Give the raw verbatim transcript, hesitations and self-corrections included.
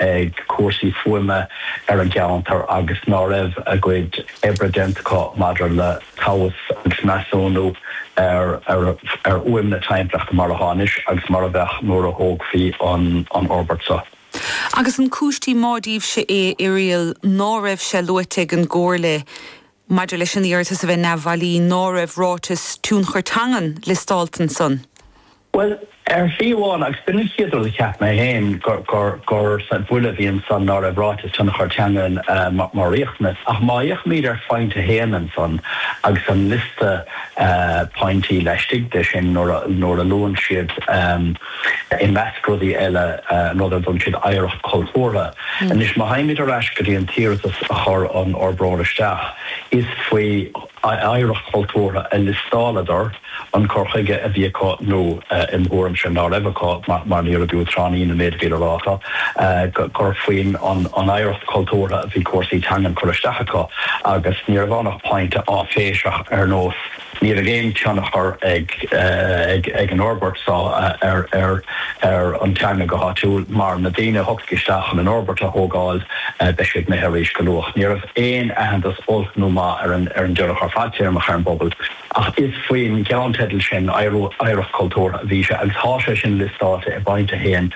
ag cúrsaí fuaime ar an gceantar agus ná raibh a gcuid oibre déanta acu maidir le tomhas agus measúnú ar ar ar fhuaim na timpeallachta mar atá anois agus mar a bheadh nuair a thógfaí an an fhorbairt seo. Agus an cúis má díobhse é Irial ná raibh sé luaite ag an gComhairle maidir leis an iarratas a bheith neamhbhailí ná raibh ráiteas tionchar teangan liostáilte ansan. Well ar shlí amháin agus b'in an chéad rud a cheap mé féin gur gur gur buille a bhí ansan ná raibh ráiteas tionchar teangan uh, mar riachtanas ach má fhéachaimid ar phointe a haon ansan agus an liosta uh, pointí laistigh de sin nuair a luann siad um, i measc rudaí eile uh, rud a dtugann siad oidhreacht chultúrtha. Mm. Anois má théimid ar ais go dtí an t-iarratas a chuir an fhorbróir isteach is faoi oidhreacht chultúrtha a liostáladar an cur chuige a bhí acu nó im thuairimse ná raibh acu mar ní raibh trání na méid bhí ráta gur faoin an oidhreacht chultúrtha a bhí cúrsaí teangan curtha isteach acu agus ní raibh ach pointe áiféiseach ar nós ní raibh aon tionchar ag ag ag an fhorbairt seo ar ar ar an teanga go háitiúil mar na daoine a thiocfaidh isteach an an fhorbairt a thógáil beidh siad imithe arís go luath. Ní raibh aon aitheantas olc nó maith ar an ar an dtionchar fadtéarmach ar an bpobal. Ach is faoin gceannteideal sin oidhreacht chultúrtha a bhí sé agus tá sé sin liostáilte i bpointe a haon